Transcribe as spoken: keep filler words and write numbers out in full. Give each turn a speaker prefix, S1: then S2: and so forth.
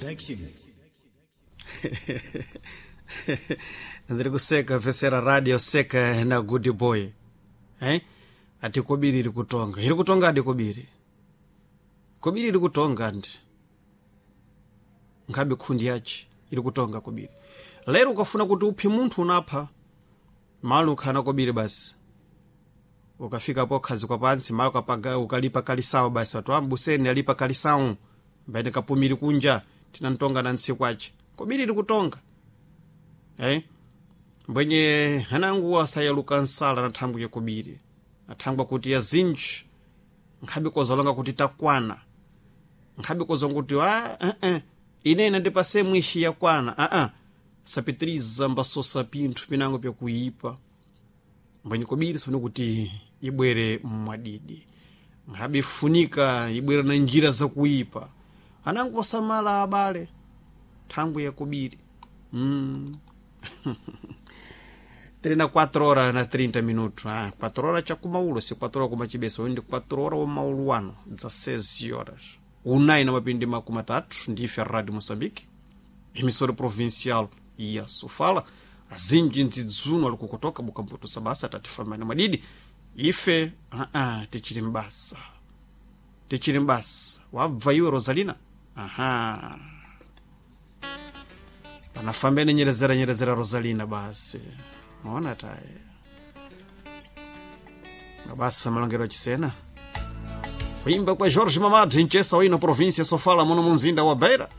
S1: Production.
S2: Ndiri kuseka vesera radio seka na good boy, eh? Ati kobiri iri kutonga, iri kutonga adi kobiri, kobiri iri kutonga ndi nkhabe khundi yace iri kutonga kobiri. Lero ukafuna kuti uphe munthu unapha malo ukhana kobiri basi, ukafika po khazikwa pansi malo ukapaga ukalipa kalisawo basi, watu ambuseni alipa kalisawo mbaine kapumiri kunja tinantonga na ntsiku ace kobiri iri kutonga, eh? Mbwenye hanangu asayaluka nsala na thangwi ya kobiri, athangwa kuti ya zinji nkhabe kozalonga kuti takwana, nkhabe kozonga kuti ah, eh, eh, ine inandipase mwishi yakwana ah, ah. Sapitiriza mbasosa pinthu pinango pyakuyipa mbwenye kobiri sifuna kuti ibwere mwadidi, nkhabe ifunika ibwere na njira zakuyipa. Anangu osamala abale thangwi ya kobiri mm. Tiri na quatro horas na trinta minutos. Ah, quatro horas chakumaulo, se quatro horas kumachibesa, ndi quatro horas wamaulu ano, dezesseis horas. Unai na mapindi makumi atatu, ndife Rádio Moçambique, emissora provincial ya Sofala. Azinji ndzidzuno ali kukotoka bukamputu sabasa tatifamani madidi. Ife, ah, ah, tichiri mbasa. Tichiri mbasa. Wabva iwe Rosalina? Aha. Panafambene nyerezera nyerezera Rosalina basi. Maona taye. Mabasa malongero achisena. Kuimba kwa Jorge Mamad, nchesa wino província Sofala muno munzinda wa Beira.